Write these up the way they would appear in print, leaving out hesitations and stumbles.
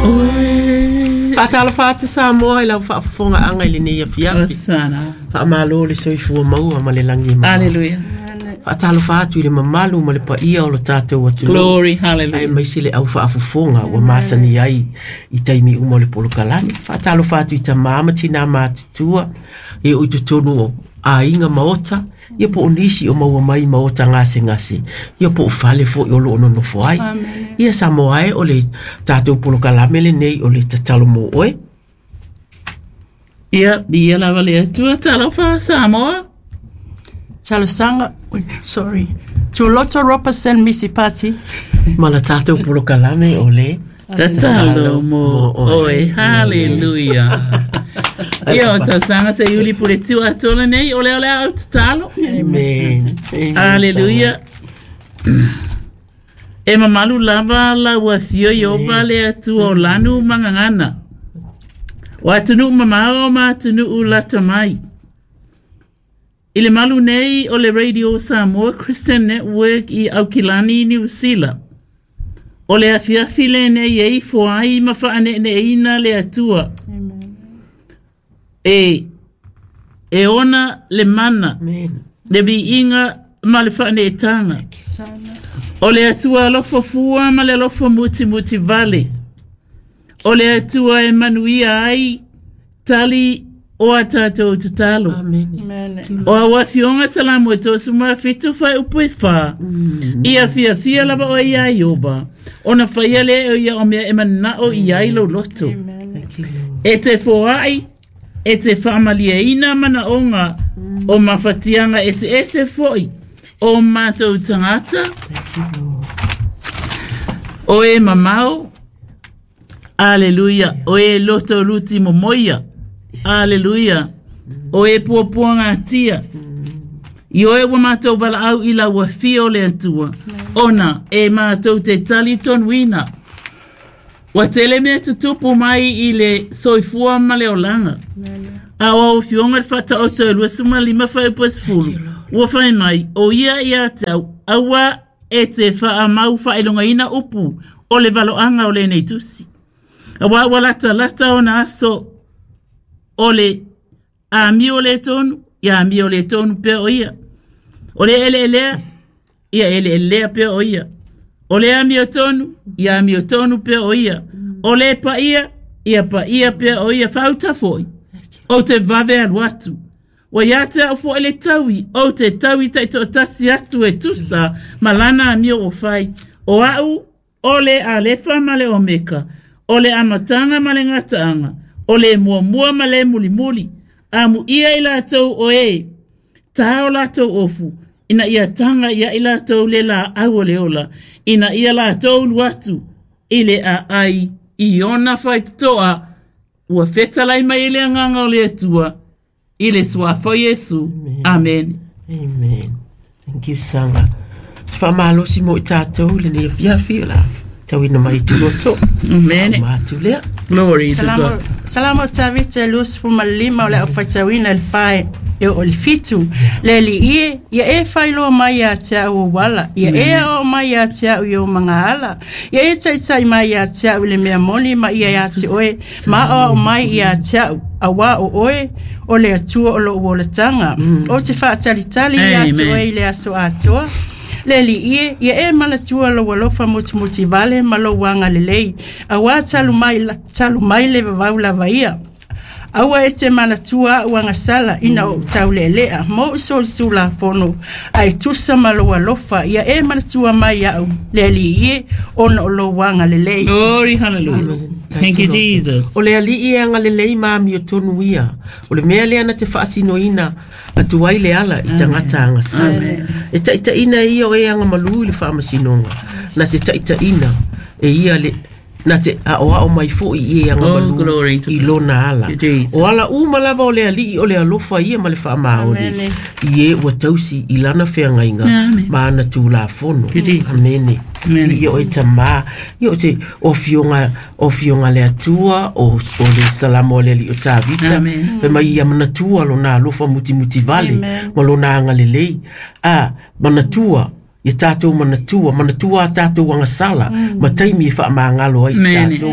Oe. Faatalofa atu Samoa i lau faafofogaaga i lenei afiafi. Osana. Faamalo le soifua maua ma le lagi e mama. Hallelujah. Faatalofa atu i le mamalu ma le paia o lo tatou atunuu. Glory, hallelujah. Aemaise le au faafofoga ua masani ai i taimi uma o le polokalame. Faatalofa atu i tamā ma tinā matutua e o i totonu o aiga maota, ia po o nisi o maua mai maota gasegase, ia po o fale foi o lo o nonofo ai. Ia Samoa e, o le tatou polokalame lenei o le tatalo mo oe. Ia, ia lava le Atua, talofa Samoa. Talosaga, sorry. Tuloto Robertson Misi Pati. Ma la tatou polokalame o le Tatalo mo oe. Hallelujah. Ia, o tausaga se iuli pule tiu atoa lenei, o lea o le a au tatalo. Amen. Amen. Hallelujah. E mamalu lava lau afio Ieova le Atua o lanu ma gagana. O atunuu mamao ma atunuu lata mai. I le malu nei o le Radio Samoa Christian Network i Aukilani, Niu Sila. O le afiafi lenei e ifo ai ma faaneeneeina le Atua. E, e ona le mana, Amen. le viiga ma le faaneetaga. O le Atua alofa fua ma le alofa mutimuti vale. O le Atua e manuia ai tali o a tatou tatalo. Amen. O au afioga Salamo e 37 fuaiupu e 4. Ia fiafia lava oe iā Ieova, ona faia lea e ia o mea e manao i ai lou loto. Thank you, Lord. E te foai, e te faamalieina manaoga o mafatiaga eseese foi o matou tagata, Thank you, Lord. o e mamao, aleluia, o e loto luti momoia, aleluia, o e puapuagatia. I oe ua matou valaau i lau afio o le Atua, ona e matou te talitonuina. Ua tele mea tutupu mai i le soifua ma le olaga. A o au afioga i le Faataoto e 25 fuaiupu e 10, ua fai mai, o ia ia te au, aua e te faamau faailogaina upu o le valoaga o lenei tusi. Auā ua latalata ona aso o le amio le tonu, ia amio le tonu pea o ia. O le eleelea, ia eleelea pea o ia. O le amiotonu, ia amiotonu pea o ia. O le paia, ia paia pea o ia. Faauta foi, ou te vave alu atu. Ua ia te au foi le taui, ou te taui taitoatasi atu e tusa ma lana amio ua fai. O au, o le Alefa ma le Omeka, o le amataga ma le gataaga, o le muamua ma le mulimuli. Amuia i latou o e tā o latou ofu, ina ia taga ia i latou le laau o le ola, ina ia latou ulu atu i le aai i ona faitotoa, ua fetalai mai e le Agaga o le Atua, i le suafa o Iesu. Amene. Amen. Thank you, Saga. Se faamalosi mo i tatou i lenei afiafi o le a tauina mai i Tuloto. Amene. Faauma atu lea. Glory to Salamo, God. Salamo Tavita e 25 o le au faitauina i le 4 e oo i le 7. Le Alii e, ia e faailoa mai ia te au ou ala, ia e aoao mai ia te au i ou magaala, ia e taitai mai ia te au i le mea moni ma ia ia te oe, ma aoao mai ia te au, auā o oe, o le Atua o lou olataga. Ou te faatalitali ia te Amen. oe i le aso atoa. Le Alii e, ia e manatua lou alofa mutimuti vale ma lou agalelei, auā talu mai, talu mai le vavau lava ia. Aua e te manatua au agasala ina ou taulealea, mo ou solitulafono, ae tusa ma lou alofa, ia e manatua mai au, le Alii e, ona o lou agalelei. Glory, hallelujah. Thank you, Jesus. O le Alii e agalelei ma amiotonu ia. O le mea lea na te faasinoina atu ai le ala i tagata agasala. E taitaiina e ia o e agamalu i le faamasinoga. Na te taitaiina e ia le na te aoao mai foi i e agamalu Oh, glory to i God. lona ala. To Jesus. O ala uma lava o le Alii o le alofa ia ma le faamaoni. Amene. I e ua tausi i lana feagaiga Amen. ma ana tulafono. To Jesus. Amene. Amene. Ia oe tamā, ia o te o afioga, o afioga le Atua, o, o le Salamo a le Alii o Tavita. Amen. Fai mai ia manatua lona alofa mutimuti vale Amen. ma lona agalelei. A manatua Ia tātou manatua, manatua a tātou agasala, ma taimi e whaamāngalo ai i tātou.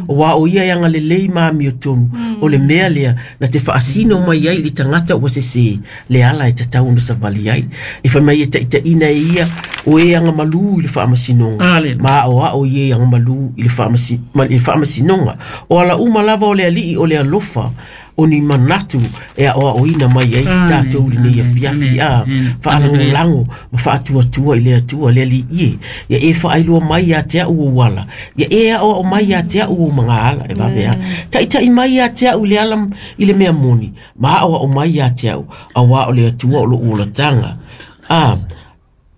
O wā o ia e anga lelei ma amio tonu, o le mea lea, na te whaasino mai ai i tangata ua sese, le ala e tatau ona savali ai. E whai mai e taitaina e ia, o e anga malū i le whaamasinoga. Ma o ao i e anga malū i le whaamasinoga. O ala uma lava o le alii o le alofa, o ni manatu e aʻoaʻoina mai ai tatou i lenei afiafi a faalagolago ma faatuatua i le Atua le Alii e. Ia e faailoa mai ia te au ou ala, ia e aʻoaʻo mai ia te au ou magaala e vave a. Taʻitaʻi mai ia te au i le ala i le mea moni, ma aʻoaʻo mai ia te au, auā o le Atua o loʻu olataga. A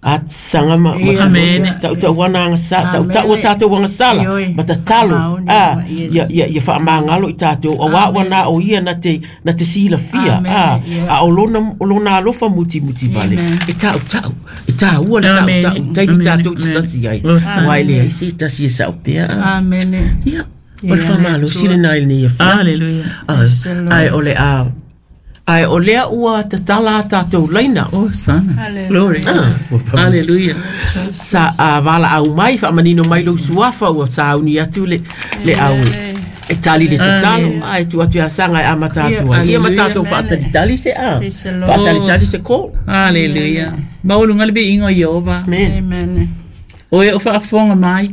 A saga ma ma Amen. taʻutaʻu ana agasa taʻutaʻu a tatou agasala ma tatalo a ia ia ia faamagalo i tatou auā ua na o ia na te na te silafia a a o lona o lona alofa mutimuti vale e taʻutaʻu e tāua le taʻutaʻu taimi tatou te sasi ai auā e leai se tasi e saʻo pea Amene. Ia o le faamalosi lenā i lenei afiafi. Hallelujah. Ae o le a Ae o lea ua tatala a tātou laina. Oh, sana. Glory. Hallelujah. Sa a valaau mai, faamanino mai lou suafa ua sauni atu le, le au e tali le tatalo. Ae tu atu ia saga e amata atu ai. Ia ma tātou faatalitali se a. Faatalitali se call. Hallelujah. Maualuga le viiga o Ieova. Amen. Amen. O e o faafofoga mai.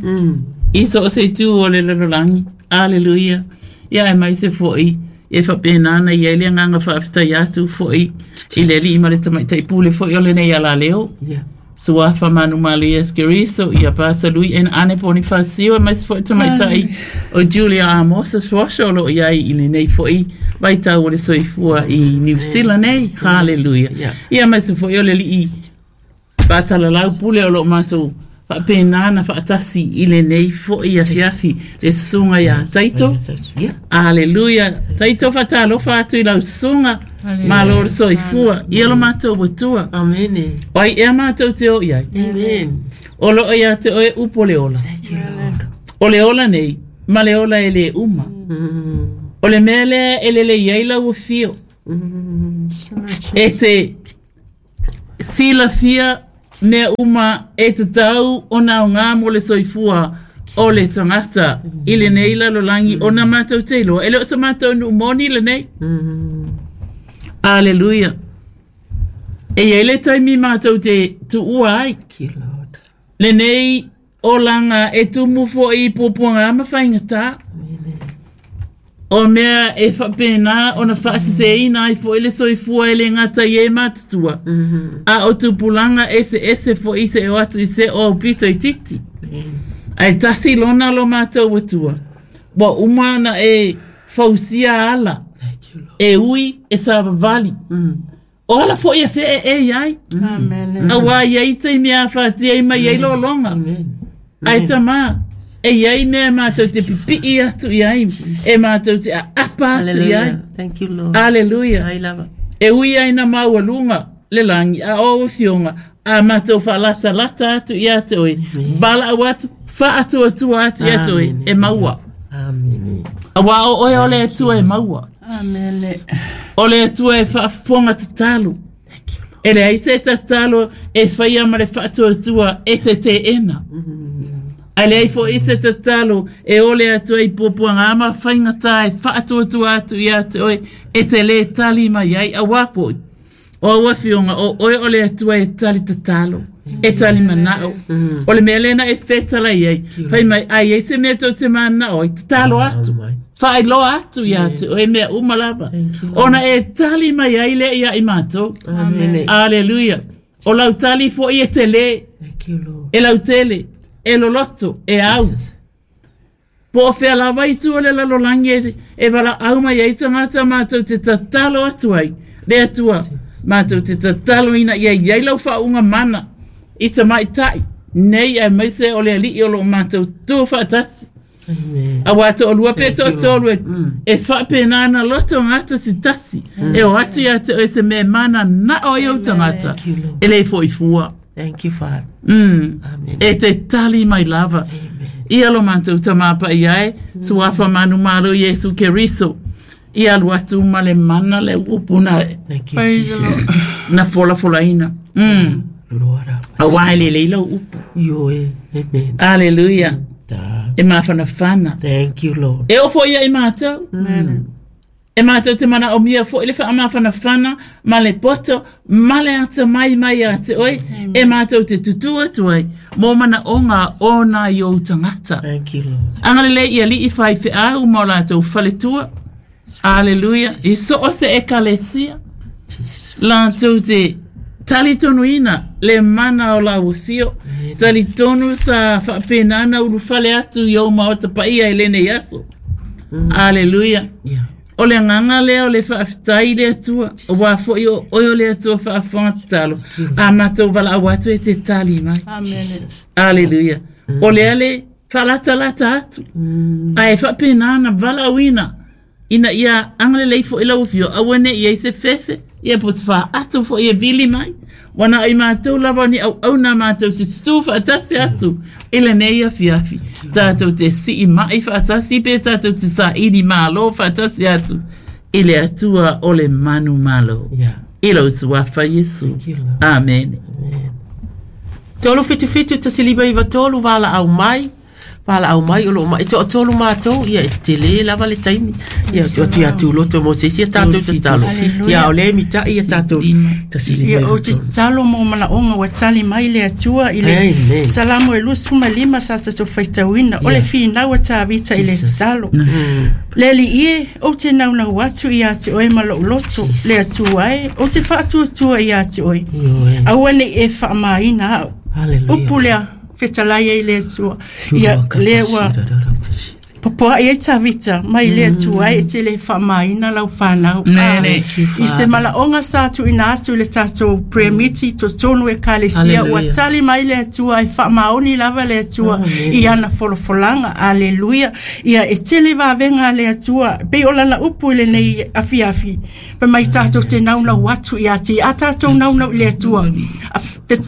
I so o se itu o le lalolagi. Hallelujah. Ia aemaise foʻi e faapena ana i ai le agaga faafetai atu foʻi i le alii ma le tamaitai pule foʻi o lenei alaleo. Yeah. Suafa Manumalo Iesu Keriso, ia Pasa Lui en Ane Ponifasio, aemaise foʻi tamaitai o Julia Amosa Suasha o loo i ai i lenei foʻi vaitau o le soifua i New Zealand nei. Hallelujah. Yeah. Ia aemaise foʻi o le alii Faasalalau pule o loo matou faapena na faatasi i lenei foʻi afiafi le susuga iā Taito. Aleluia. Taito faatalofa atu i lau susuga. Malo le soifua. Ia lo matou Atua. Amene. O ai ea matou te o i ai? Amen. O loo ia te oe upu o le ola. Thank you, Lord. O le ola nei, ma le ola e lē uma. O le mea lea e lelei ai lau afio. E te Silafia mea uma e tatau ona aoga mo le soifua o le tagata i lenei lalolagi ona matou te iloa e le o se matou nuu moni lenei. Aleluia. E i ai le taimi matou te tuua ai Thank you, Lord. lenei olaga e tumu foʻi i puapuaga ma faigatā. O mea e faapena ona faaseseina ai foʻi le soifua e le gata i e matutua, a o tupulaga eseese foʻi seʻo atu i seʻo aupito itiiti. Ae tasi lona lo matou Atua, ua uma ona e fausia ala Thank you, Lord. e ui e savavali. O ala foʻi e feʻeʻe i ai. Amen. Auā i ai taimi e afatia ai mai ai lologa. Ae tamā, e i ai mea e mātou te pipii atu i ai, e mātou te aapa atu i ai. Hallelujah. Thank you, Lord. Aleluia. Ai lava. E ui ai na maualuga le lagi a o afioga a matou faalatalata atu ia te oe, valaau atu, faatuatua atu ia te oe, e maua. Amene. Auā o oe o le Atua e maua. Amene. O le Atua e faafofoga tatalo. E leai se tatalo e faia ma le faatuatua e te teena. Ae leai foʻi se tatalo e ole atu ai i puapuaga ma faigatā e faatuatua atu ia te oe e te lē tali mai ai auā foʻi. O au afioga, o oe o le Atua e tali tatalo, e tali manaʻo. O le mea lena e fetalai ai, fai mai, a i ai se mea tou te mananao ai, tatalo atu, faailoa atu ia te oe mea uma lava. Ona e tali mai ai lea ia i matou. Amene. Aleluia. O lau tali foʻi e telē, Thank you, Lord. e lautele, e loloto, e au. Po o fea lava i tua o le lalolagi e, e valaau mai ai tagata matou te tatalo atu ai, le Atua, matou te tatalo ina ia i ai lau faauuga mana i tamaitai nei aemaise o le Alii o loo matou tu faatasi. Amen. Auā toalua pe toatolu e, e faapena ana loto gata se tasi e o atu ia te oe se mea e mana nao ai ou tagata you, Lord. e le foʻi fua. Thank you, Father. Amen. E te tali mai lava. Ia lo matou Tamā Paia e, Suafa Manumalo Iesu Keriso, ia alu atu ma le mana le upu na Thank you, Praise the Jesus. Lord. na folafolaina. Auā e lelei lau upu. Ioe. Amen. Aleluia. Ta. E mafanafana. Thank you, Lord. E oo foi ia i matou. E matou te manaomia foi le faamafanafana ma le poto ma le atamai mai ia te oe e matou te tutū atu ai mo manaoga o nai ou tagata. Thank you, Lord. Agalelei i alii faifeau ma o latou faletua. Aleluia. I so o se ekalesia. Latou te talitonuina le mana o lau afio. Talitonu sa faapena ona ulufale atu i ou maota paia i lenei aso. Aleluia. Yeah. O le agaga lea o le faafetai i le Atua, aua foi o oe o le Atua faafofoga tatalo, a matou valaau atu e te tali mai. Amen. Aleluia. O lea le faalatalata atu, ae faapena ona valaauina ina ia agalelei foi lau afio, aua ne i ai se fefe, ia po o se faatu foi e vili mai. Ua na o i matou lava o ni auauna matou te tutū faatasi atu i lenei afiafi. Tatou te siimai faatasi pe tatou te saili malo faatasi atu i le Atua o le manumalo. Yeah. I lou suafa Iesu. you, Lord. Amene. 377 159 valaau mai. Valaau mai o loo mai toatolu matou, ia e tele lava le taimi. Ia tu atu ia tuloto mo se isi a tatou tatalo. Ia o le mitai ia tatou tasi Ia lima ou te tatalo mo manaoga ua tali mai le Atua i le Amen. Salamo e 25 sa tatou faitauina o le finau a Tavita i le Jesus. tatalo. Le Alii e, ou te naunau atu ia te oe ma lou loto, le Atua e, ou te faatuatua ia te oe. Ioe. Aua ne i e faamaina au. Hallelujah. Upu lea, fetalai ai le Atua. Ia, lea ua popoai ai Tavita mai le Atua e te le faamaina lau fanau. Nene. I se malaoga sa tuuina atu i le tatou prayer meeting totonu ekalesia ua Hallelujah. tali mai le Atua e faamaoni lava le Atua i ana folafolaga. Aleluia. Ia e tele vavega a le Atua pei o lana upu i lenei afiafi. Fai mai tatou te naunau atu ia te a tatou naunau i le Atua.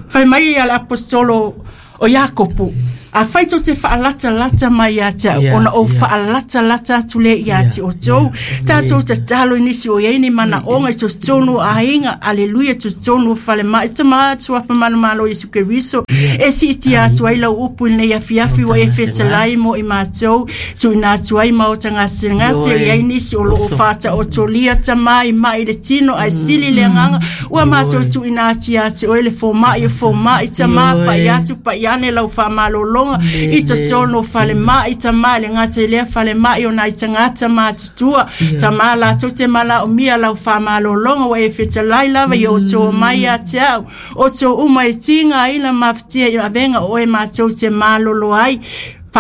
Fai mai ia le apostolo o Iakopo. A fai tou te faalatalata mai ia te au, Yeah, ona ou yeah. faalatalata atu lea ia te outou. Tatou tatalo i nisi o i ai ni manaoga i totonu o aiga, aleluia, totonu o falemai, tama atu a whamanumalo Iesu Keriso. E siitia atu ai lau upu i lenei afiafi ua e fetalai mo i matou, tuuina atu ai maota gasegase Ioe. o i ai nisi o loo faataotolia tama i mai le tino ae sili le agaga ua matou tuuina atu ia te oe le fomai o fomai tama Ioe. pai atu pai ane lau faamalologa i totonu o falemai tama e le gata i lea falemai o nai tagata matutua tama latou te malaomia lau faamalologa ua e fetalai lava ia outou mai ia te au outou uma e tigaina mafatia i avega o oe matou te malolo ai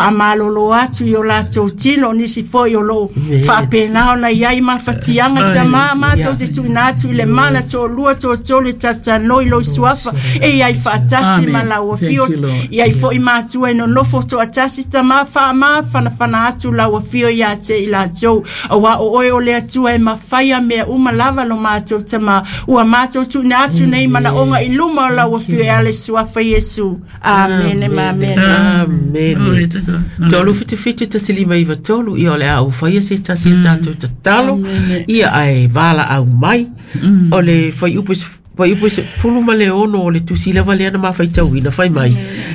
faamalolo atu i o latou tino o nisi foi o loo faapena ona i ai mafatiaga tamā matou te tuuina atu i le mana toalua toatolu e tatanoi lou suafa e i ai faatasi ma Amen. lau Thank afio you, Lord. i ai foi matua e nonofo toatasi tamā faamafanafana atu lau afio ia te i latou auā o oe o le Atua e mafaia mea uma lava lo matou tamā ua matou tuuina atu nei manaoga i luma o lau afio e ala suafa Iesu. Amene ma amene. Amene. Glory to God. 377 159 ia o le a ou faia se tasi a tatou tatalo ia ae valaau mai o le fuaiupu fuaiupu 16 o le tusi lava lea na mafaitauina fai mai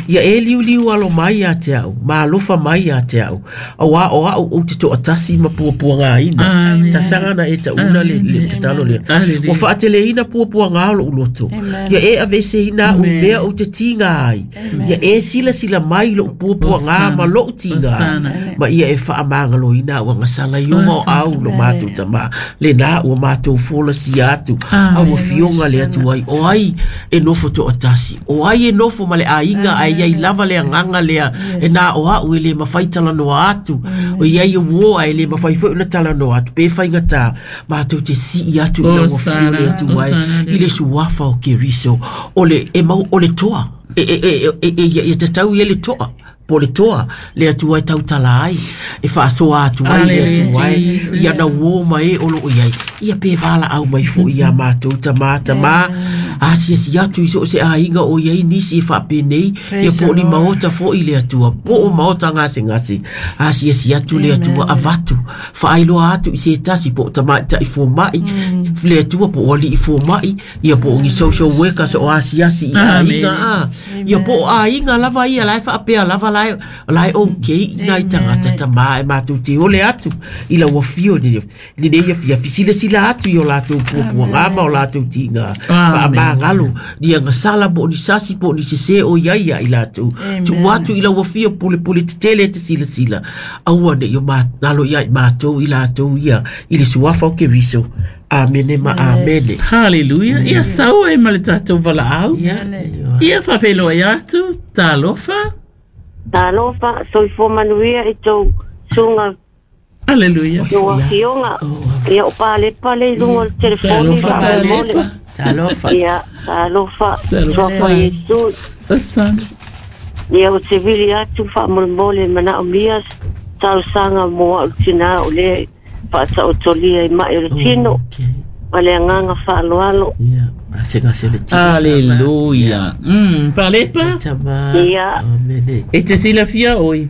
ia e liuliu alo mai ia te au ma alofa mai ia te au auā o au ou te toatasi ma puapuagaina Amen. tasaga na e tauna le tatalo lea Hallelujah. ua faateleina puapuaga o lou loto ia e aveseina au i mea ou te tiga ai ia e silasila mai lou puapuaga ma lou tiga Hosana. ma ia e faamagaloina au agasala i ova o au lo matou tamā lenā ua matou folasia atu au afioga le atu ai o ai e nofo toatasi o ai e nofo ma le aiga ae iai lava le agaga lea e nā o a'u e lē mafai talanoa atu o iai e uō ae lē mafai foi ona talanoa atu pe faigatā matou te sii atu i lau afio le atu ai Hosana. i le suafa o Keriso o le e mau o le toa e e e e e ia ia tatau ia le toa po le toa le atu ai tautala ai e faasoa atu ai le atu Hallelujah, ai Jesus. ia na uō ma e o loo iai Ia pe valaau mai foʻi iā matou tamā tamā asiasi atu i so o se aiga o iai nisi e faapenei ia po o ni maota foʻi le Atua po o maota gasegase asiasi atu le Atua avatu faailoa atu i se tasi po o tamaitaʻi fomaʻi le Atua po o alii fomaʻi ia po o ni social workers o asiasi i aiga a ia po o aiga lava ia la e faapea lava la e la e okay i nai tagata tamā e matou te ole atu i lau afio i lenei afiafi silasila atu i o latou puapuaga ma o latou tiga faamagalo ni agasala po o ni sasi po o ni sesē o i ai ia i latou tuu atu i lau afio pulepule tetele e te silasila aua ne i o galo ia i matou i latou ia i le suafa o Keriso. Amene ma amene. Hallelujah. Ia sau ai ma le tatou valaau. Ia faafeiloai atu, talofa. Talofa, soifua manuia i tou susuga. Hallelujah. Tou afioga. Ia o Palepa le i luga o le telefoni. Talofa Palepa. Talofa. Ia, talofa. Suafa Iesu. Asana. Ia o te vili atu faamolemole manaomia talosaga mo au tinā o lea faataotolia i mai o le tino. Ma le agaga faaaloalo. Ia, gasegase le tino. Hallelujah. Palepa. Ia. E te silafia oi.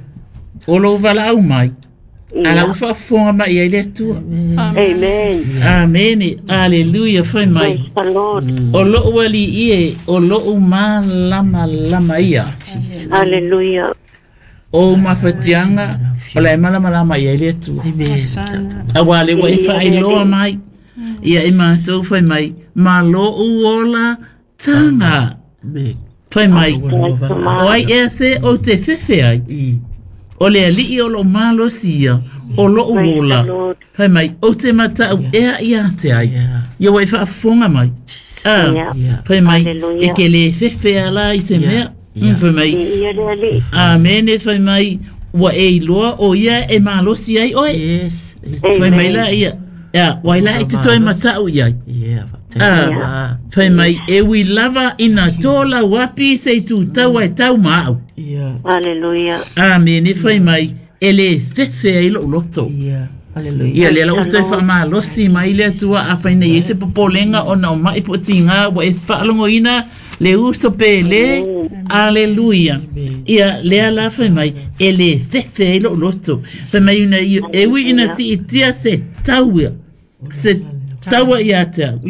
O lou valaau mai. Ala ua faafofoga mai ai le Atua. Amen. Amene. Hallelujah. Fai mai. Praise the Lord. O lou alii e, o lou malamalama ia. Hallelujah. O mafatiaga o la e malamalama i ai le Atua. Amen. Auā le ua e faailoa mai. Ia i matou fai mai, ma lou ola taga. Fai mai, o ai ea se ou te fefe ai? O le alii o loo malosi ia, o lou ola. Fai mai, ou te matau ea ia te ai. Ia ua e faafofoga mai. Fai mai, e ke lē fefe ala i se mea. Fai mai, amene fai mai, ua e iloa o ia e malosi ai oe. Yes. Fai mai la ia, ia, wai la e te toe matau i ai. Fai mai, e ui lava ina tō lau api se i tūtau ai tau ma au. Hallelujah. Amene fai mai, e lē fefe ai lou loto. Hallelujah. Ia lea la ua toe faamalosi mai le Atua afai nei ai se popolega ona o maʻi po o tigā ua e faalogoina le uso pele. Aleluia. Ia lea la fai mai, e lē fefe ai lou loto. Fai mai ina e ui ina siitia se tau se taua ia te au.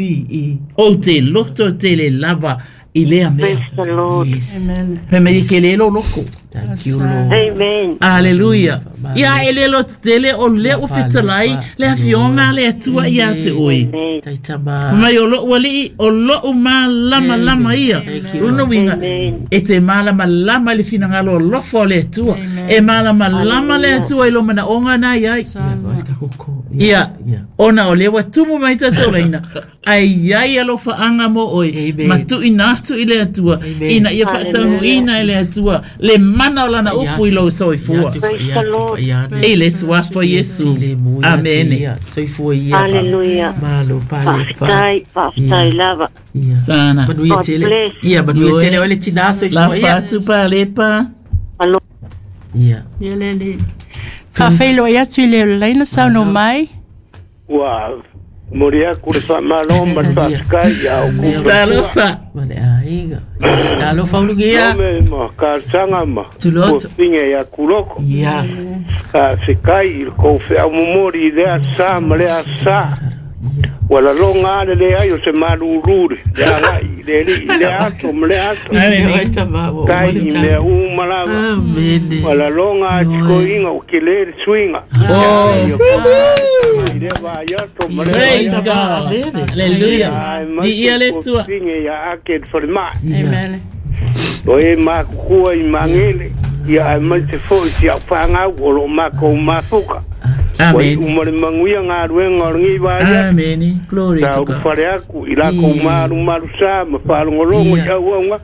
Ou te loto tele lava i lea mea. Praise the Lord. Yes. Amen. Fai mai e ke le lo loko. Thank you, Lord. Amen. Aleluia. Ia e le lo tetele o lea ua fetalai le afioga le Atua ia te oe. Amen. Taitama. Mai o lou alii o lou malamalama ia. Lona uiga Amen. e te malamalama i le finagalo alofa o le Atua. E malamalama le Atua i lo manaoga na iai. Ia, ona o lea ua tumu mai tatou laina, ae iai alofaaga mo oe, Amen. ma tuuina atu i le Atua, Amen. ina ia faataunuuina e le Atua le mana o lana upu i lou soifua. Praise the Lord. I le suafa o Iesu. Amene. Soifua ia. Hallelujah. Malo pale pa. Faafetai, faafetai lava. Sana. Manuia God tele. bless. Ia, manuia Ioe. tele o le tina soifua ia. Lafa atu Palepa. Alo. Ia. Ia le alii. Faafeiloai atu i le laina saunoa mai. Ua momoli atu le faamalo ma le faafetai ia outou Talofa. Ma le aiga. Talofa ulugia. Nome ma talosaga ma Tuloto. tuafine ia Kuloko. Ia. Faafetai i le kou feaumomoli i lea asā ma lea asā. Ua laloga a le leai o se malūlū le le agai i le alii i lea aso ma lea aso. Amen. Tai i mea uma lava. Amene. Ua laloga a tikoiga o kelē le suiga. Oh, I lea vaaiaso ma lea praise vaaiaso. God. Hallelujah. Ai mai Viia le Atua. tuafine ia ake le falemai. Amen. O e makukua i magele ia ae mai se foʻi si au fagau o loo makou mafuka. Ua Amen. iʻu ma le manuia galuega o lenei vaai Amene. Glory sa to ulu God. fale atu i lakou malumalu sa ma faalogologo i auauga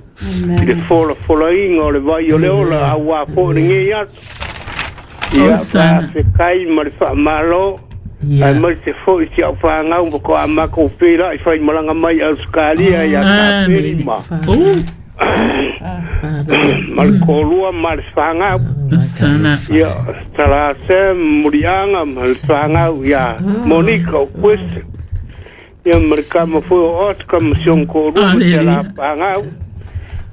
i le folafolaina o le vai o le ola auā foʻi lenei aso. Ia Osana. faafetai ma le faamālō ae mai se foʻi si au fagau ma ko a makou peilaʻi faimalaga mai Ausekalia ia Kapeli Amene. ma Oh, ma le kolua ma le fagau. Osana. Ia Talase Muriaga ma le fagau ia Monika o Quest. Ia ma le kama foi o Oscar ma si ona toalua ma si alaapagau.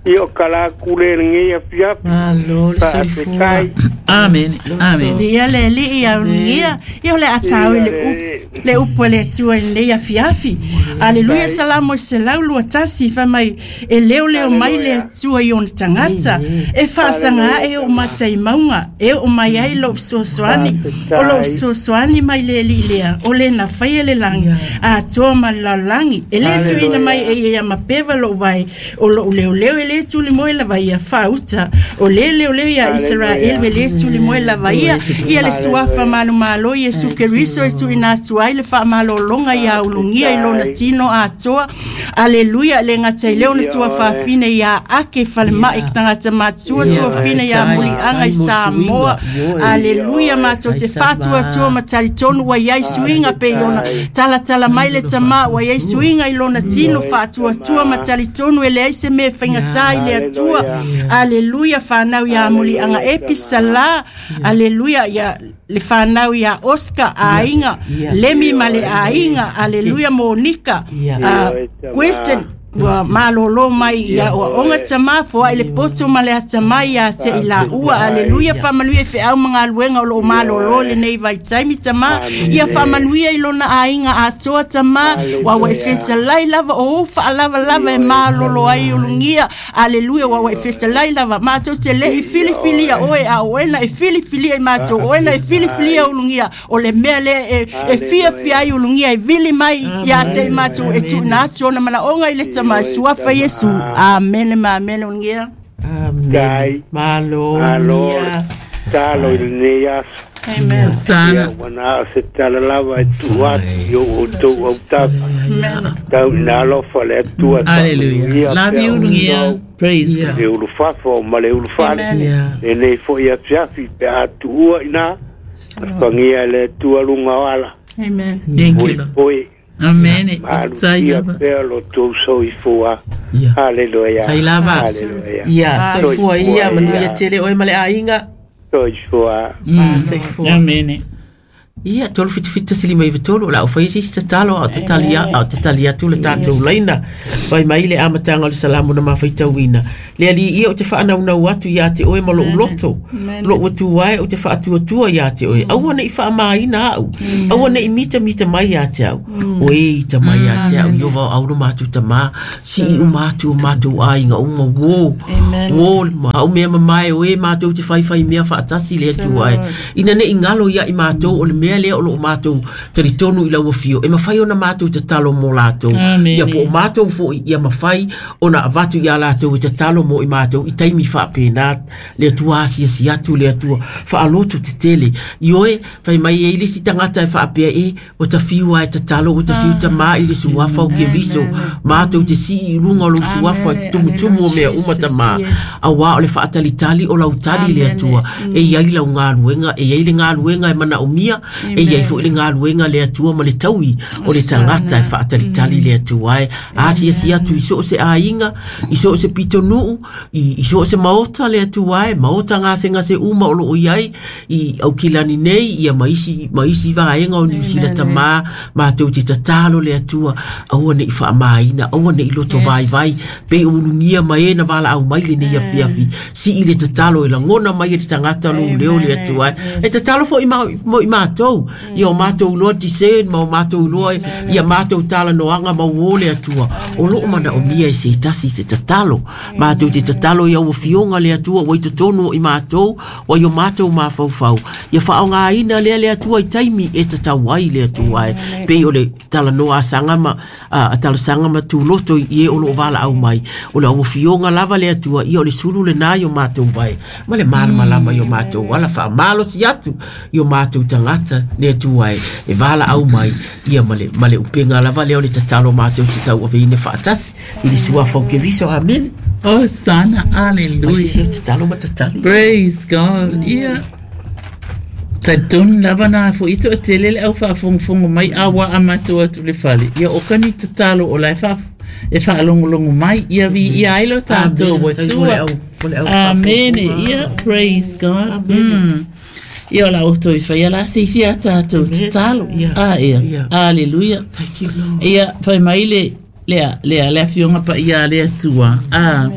Ia o kala atu lea i lenei afiafi. Malo le soifua. Faafetai. Amene. Amene. Ia le alii ia ulugia, ia o le a tāo i le upu, le upu a le Atua i lenei afiafi. Aleluia, Salamo 121, fai mai, e leoleo mai le Atua i ona tagata, e faasaga ae oo mata i mauga, e oo mai ai lou fesoasoani. O lou fesoasoani mai le Alii lea, o le na faia le lagi, atoa ma le lalolagi. E le tuuina mai e ia ia mapeva lou vae, o lou leoleo e le tulimoe lava ia faauta. O le leoleo ia Isaraelu e le tulimoe lava ia, ia le suafa manumalo Iesu Keriso e tuuina atu ai le faamalologa ia ulugia i lona tino atoa. Aleluia, le gata i lea ona tuafafine ia ake falemai tagata matua, tuafine ia muliaga i Samoa. Aleluia, matou te faatuatua ma talitonu ua i ai suiga pei ona talatala mai le tamā, ua i ai suiga i lona tino, faatuatua ma talitonu e leai se mea e faigata i le Atua. Aleluia, whanau ia muliaga Episala. Aleluia, ia le whanau ia Oscar aiga, Lemi ma le aiga. Aleluia, Monica. Question ua malolo mai ia ua onga tamā foai le poto ma le atamai ia te i la ua. Aleluia, faamanuia i feau ma galuega o loo malolo lenei vaitaimi tamā. Ia faamanuia i lona aiga atoa tamā, ua ua e fetalai lava o ou faalavalava e malolo ai ulugia. Aleluia, ua ua e fetalai lava matou te le'i filifilia oe, a o oe na e filifilia i matou, o oe na e filifilia ulugia. O le mea lea e fiafia ai ulugia e vili mai ia te i matou e tuuina atu ona manaoga i le Tama Suafa Iesu. Amene ma amene ulugia. Amen. Malo. Malo. Ulugia. Talo i lenei aso. Amen. Ia Sana. ua na o se tala lava e tuu atu i o outou autafa. Tau ina alofa le Atua e Hallelujah. faamanuia Love pea you, ulugia. outou. Praise Yeah. God. Le ulufafo ma le ulufale. Amen. Yeah. Lenei foi afiafi pe a tuua ina. Afagia le Atua luga o ala. Amen. Thank you, Lord. Poepoe. Amene. Ifetai Malutia lava. pea lo tou soifua. Yeah. Haleluia. Tai lava. Haleluia. Ia, soifua ia, manuia ia. tele oe ma le aiga. Soifua. Soifua. Amene. Ia, 3 7 7 1 5 3, o la au whai sisi tatalo, au tatali, au tatali atu le tātou laina. Vai mai le amatanga o le salamu na mawhaitauina. Le ali ia o te whaanaunau atu ia te oe ma lou loto. Lou atu ai o te whaatuatua ia te oe. Aua nei whaamaina au. Aua nei mita mita mai ia te au. Oe i ta mai ia te au. Iova au no mātou tamā. Si i o mātou o mātou ainga uma wō. Wō le ma au mea mamae oe mātou te whaiwhai mea whaatasi le atu ai. Ina nei ngalo ia i mātou o le mea lea o loo mātou talitonu i lau afio. E mawhai ona mātou tatalo mō lātou. Amen. Ia po o mātou foi ia mawhai ona avatu ia lātou i tatalo mō i mātou i taimi whaapēnā le atua asiasi atu le atua whaaloto te tele. I oe, whai mai e ili si tangata e whaapea e, o ta whiua e tatalo, o ta whiu tamā i le suafa o ke viso. Mātou te si i runga o lou suafa, te tumutumu o mea uma tamā. A wā o le whaatalitali o lau tali le atua. E iai lau ngāluenga, e iai le ngāluenga e mana o mia, e iai fo i le ngāluenga le atua ma le taui o le tangata e whaatalitali le atua e. Asiasi atu i so o se ainga, i so o se pitonuu, i so o se maota le atua e, maota ngā se ngā se uma o loo iai, i aukilani nei, ia maisi vaenga o New Zealand tamā, mātou te tatalo le atua, aua nei whaamaina, aua nei loto vai vai, pe o ulungia mai e na wala au mai le nei afiafi, si i le tatalo e langona mai e te tangata lo leo le atua e. E tatalo fo i mo i mātou, ia o mātou loa discern, ma o mātou loa, ia mātou tala noanga ma uo le atua. O loo mana o mia e se tasi se tatalo, mātou te tatalo ia ua fionga le atua, ua i totonu o i mātou, ua i o mātou mafaufau. Ia whaonga aina lea le atua i taimi e tatau ai le atua e. Pei o le tala noa a sanga ma, a tala sanga ma tūloto i e o loo wala au mai. O le ua fionga lava le atua, ia o le sulu le nā i o mātou vai. Ma le malamalama i o mātou wala whaamalo si atu i o mātou tangata le atua e. E wala au mai, ia ma le upenga lava lea o le tatalo mātou te tau aveine whaatasi. I le suafa o ke viso, amen. Oh, sana. Mai sisi Hallelujah. o tatalo ma tatali. Praise God. Ia. Talitonu lava na fo'i to'atele le au faafogafogo mai a ua a matou atu le fale ia o kani tatalo o lae e faalogologo mai ia viia ai lo tatou Amen. Tai mo le atua. au- mo le au Amene. faafogafoga. Ia, praise God. Ia o la outou i whaia la se isi a tātou tatalo. Yeah. A ia. Yeah. Aleluia. Thank you, Lord. Ia, whai mai le, lea, lea, le afioga pa ia le atua. A,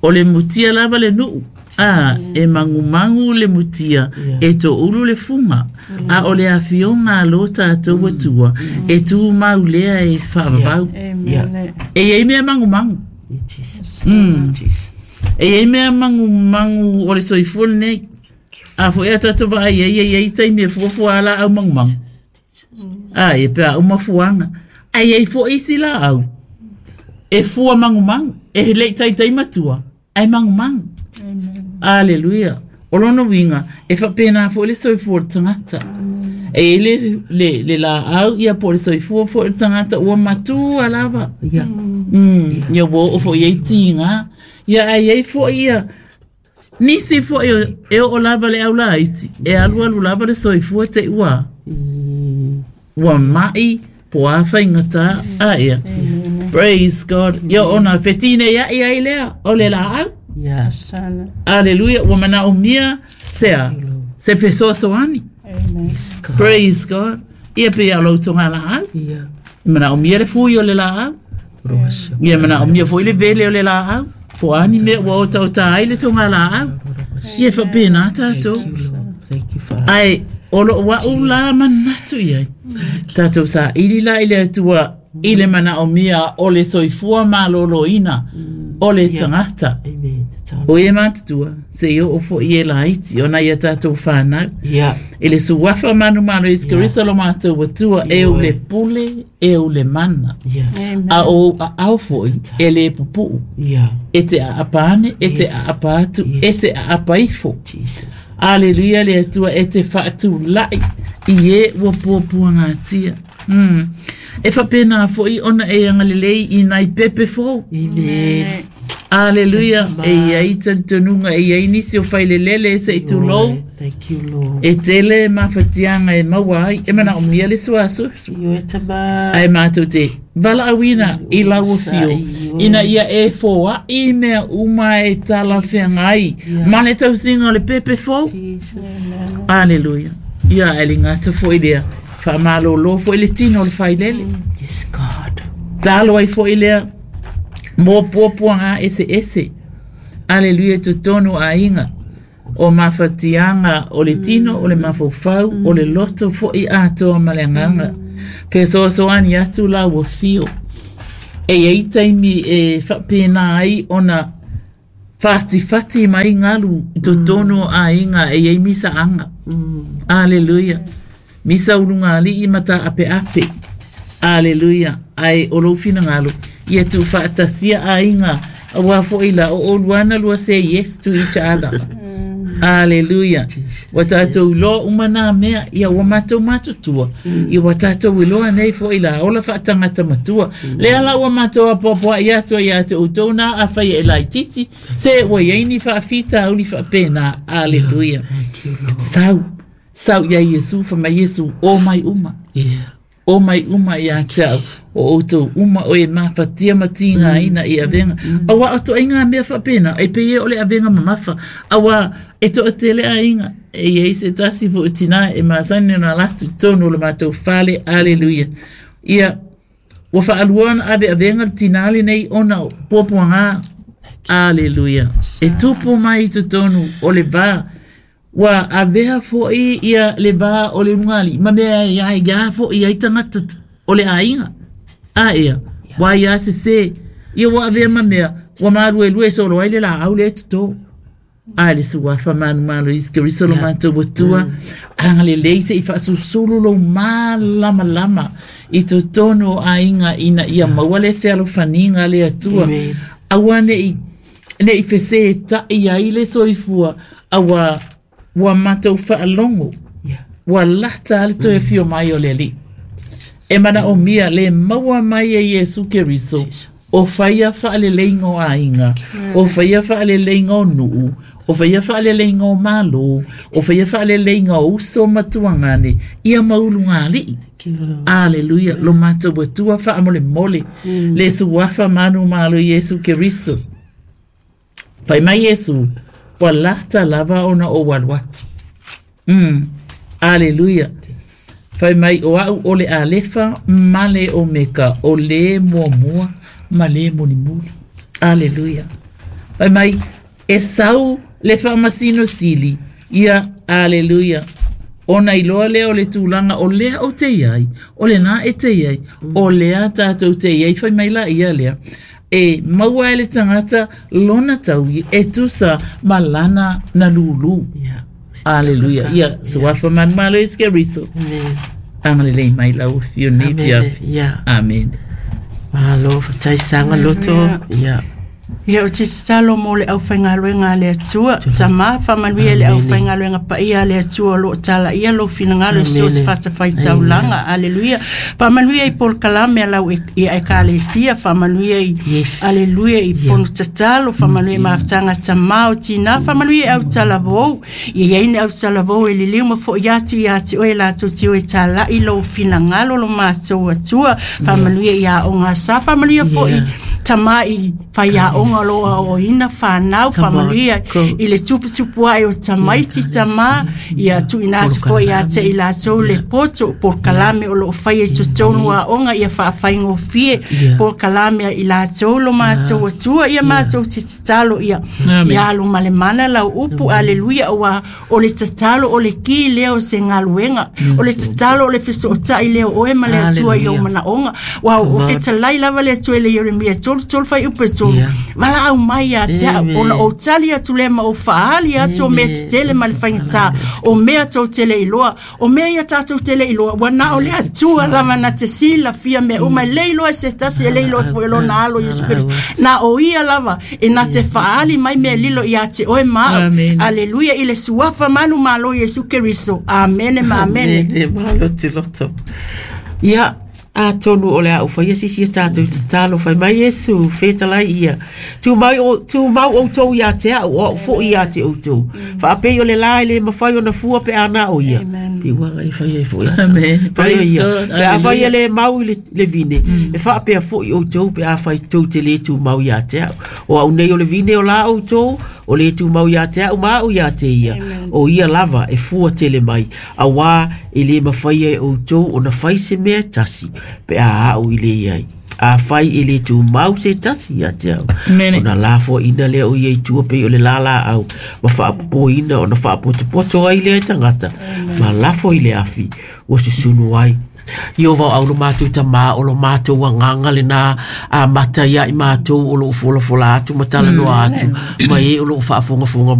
o le mutia lava le nuu. A, e mangumangu le mutia, Yeah. e tō ulu le funga. A o le afioga a lo tātou atua, e tū mau lea e whaavavau. Amen. E iei mea mangumangu. Jesus. Jesus. E iei mea mangumangu o le soifua lenei. A fo ea tātou vaai ai ai ai taimi e fuafua a la au mangumangu. A e pea uma fuanga. Ai ai fo isi la au. E fua mangumangu. E lei taitai matua. Ai mangumangu. Aleluia. O lona winga, e whapena fo le soifua o le tangata. E le, le, le la au ia po le soifua fo le tangata ua matua lava. Yeah. Ia ua oo foi ai tiga ia ai ai foi ia nisi foi e oo lava le au laiti e alualu lava le soifua te ua ua ma'i po a faigatā a ia praise god ia ona fetinei a'i ai lea o le laau Yeah. Sana. aleluia ua manaomia sea se fesoasoani Amen. Yes, God. praise god ia pe ia loutoga laau Yeah. e manaomia le fui o le laau Rosa. Ia mana o mia foi le vele o le laau. Po ani mea ua o tau ai le tonga laau. Ia whapena tātou. Thank you, Lord. Thank you, Father. Ai, o lo wa u la manatu iai. Tātou sa ili la i le atua i le mana o mia o le soifua malōlōina o le tangata. Amen. Tatalo. O e mātutua, se i o fo i e laiti, o na ia tātou whānau. Yeah. E le suafa manu manu i skirisa lo mātou atua, e u le pule, e u le mana. Yeah. Amen. A o a au foi, e le pupuu. Yeah. E te aapane, e te Yes. aapa atu, Yes. e te aapa ifo. Jesus. Aleluia le atua e te whaatulai i e ua puapua ngā tia. E whapena foi ona e angalelei i nai pepe fou. Amen. Aleluia. E iai tantununga, e iai nisi o whailelele e se i tūlou. Lord, Thank you, Lord. E tele mawhatianga e maua ai, e mana o mia le suasu. Io e tama. Ai mātou te vala awina i lau fio. Ina ia e fōa i mea uma e tala whengai. Ma le tausinga o le pepe fou. Jesus. Aleluia. Ia e le ngata fo i lea. Wha malolo fo i le tino o le whailele. Yes, God. Talo ai fo i lea. Mō puapua ngā ese ese. Aleluia totonu a inga. O mawhatianga o le tino, o le mafaufau, o le loto fo i atoa ma le nganga. Pe soasoani atu la ua fio. E ei taimi e whapena ai ona whati mai ngalu i totonu a inga e ei misa anga. Aleluia. Misa ulunga ali i mata ape ape. Aleluia. Ai o lou finagalo. Ia tu whaatasia a inga. Aua foi la o oluana lua say yes to each other. Aleluia. Wa tātou loa uma nā mea, ia ua mātou matutua. Ia wa tātou i loa nei foi la ola whaatangata matua. Lea la ua mātou apoapoa i atua i atu o tōna a whai e lai titi. Se ua iaini whaafita uli whaapena. Aleluia. Thank you, Lord. Sau. Sau ia Yesu, wha mai Yesu, o mai uma. Yeah. O mai uma ia te au, o outou uma o e mafatia matinga aina i avenga. Awa o to inga mea whapena, e pe e o le avenga mamafa. Awa e to o tele a inga, e iei se tasi fo tina e masani na latu tonu le mātou fale, aleluia. Ia, ua whaaluana ave avenga le tinali nei ona puapuanga, aleluia. E tupu mai i totonu o le vā, Ua avea fo'i ia le vā o le lugali ma mea e ai ia fo'i ai tagata o le aiga. A ea, ua ia sesē, ia ua avea ma mea, ua maluelue solo ai le laau lea e totō. A le suafa manumalo Iesu Keriso lo matou atua, agalelei se'i faasusulu lou malamalama i totonu o aiga ina ia maua le fealofaniga le atua. Amen. Aua ne'i ne'i fesēta'i ai le soifua, aua ua matou faalogo, Yeah. ua lata a le toe fio mai o le alii. E mana o mia le maua mai e Iesu Keriso, o whaia whaaleleiga o aiga, o whaia whaaleleiga o nuu, o whaia whaaleleiga o malo, o whaia whaaleleiga o uso matuangane, ia maulu ngā alii. Thank you, Lord. Aleluia, lo mātou atua wha mole mole, le suafa manu malo Iesu Keriso. Whai mai Iesu, ua lata lava ona o walu atu. Aleluia. Fai mai o au o le Alefa ma le Omeka, o le muamua ma le mulimuli. Aleluia. Fai mai e sau le faamasino sili ia. Aleluia. Ona iloa lea o le tulaga o lea ou te i ai, o lena e te i ai, o lea tātou te i ai, fai mai la ia lea. E maua e le tagata lona taui e tusa ma lana na lulu. Yeah. Aleluia. Ia, suafa manumalo Iesu Keriso. Amen. Agalelei mai lau afio nei Amen. fiafi. Yeah. Amen. Malo, fatai sanga loto. Yeah. Ia o te tatalo mo le aufaigaluega a le Atua, tamā faamanuia i le aufaigaluega paia a le Atua o loo talaia lou finagalo i so o se fatafaitaulaga. Aleluia. Faamanuia i polokalame a lau ia ekalesia, faamanuia i Yes. aleluia i fono tatalo, faamanuia i mafutaga a tamā o tinā, faamanuia i autalavou. Ia iai ni autalavou e liliu ma fo'i atu iā te oe latou te o e tala'i lou finagalo lo matou Atua. Faamanuia i aoga sa, faamanuia fo'i tamā i faiaoga o loo aoaoina fanau, Come on, faamanuia go. i le tuputupu ae o tamaiti tamā, ia tuuina atu foi ia te i latou le poto polokalame o loo faia i totonu aoga ia faafaigofie Yeah. polokalame a i latou lo matou Atua. Ia matou te tatalo ia Amen. ia alu ma le mana lau upu. Aleluia. Ua o le tatalo o le ki lea o se galuega, o le tatalo o le fesootai lea o oe ma le Atua i ou Hallelujah. manaoga. Ua o fetalai lava le Atua i le Ieremia 33 fuaiupu e 3, Yeah. valaau mai ia te au Amen. ona ou tali atu lea ma ou faaali atu o mea Amen. tetele ma le faigata, o mea tou te le iloa, o mea ia tatou te le iloa. Ua na o le Atua lava na te silafia mea uma, e le iloa e se tasi, e le iloa foi e lona alo Iesu Keriso, na o ia lava e na te faaali mai mea lilo ia te oe ma au. Amen. Aleluia. I le suafa manumalo Iesu Keriso. Amene ma amene. Amene, malo te loto. Ia, atonu o le au whaia sisi e tātou tatalo whai mai Iesu, whētalai ia. Tū mau o, tū mau outou ia te au, o au fo ia te outou. Whaapei o le la e le mawhai o na fua pe ana o ia. Amen. Pi wanga e whai e fo ia. Amen. Whai o Praise ia. God. Pe a whai Hallelujah. e le mau i le vine. E whaapea fo i outou pe a whai tou te le tū mau ia te au. O au nei o le vine o la outou, o le tū mau ia te au, ma au ia te ia. O ia lava e fua tele mai. A wā e le mawhai e outou o na whai se mea tasi pe a au i le iai. A whai e le tū mau se tasi ia te au. Amen. O na lafo ina lea o ia i tua pe o le lala au. Ma whaapopo ina o na whaapotopoto ai lea e tangata. Ma lafo i le afi ua susunu ai. I o vau au lo mātou tamā o lo mātou anganga le nā a mata ia i mātou o lo ufola fola atu ma tala noa atu ma e o lo whaafongafonga.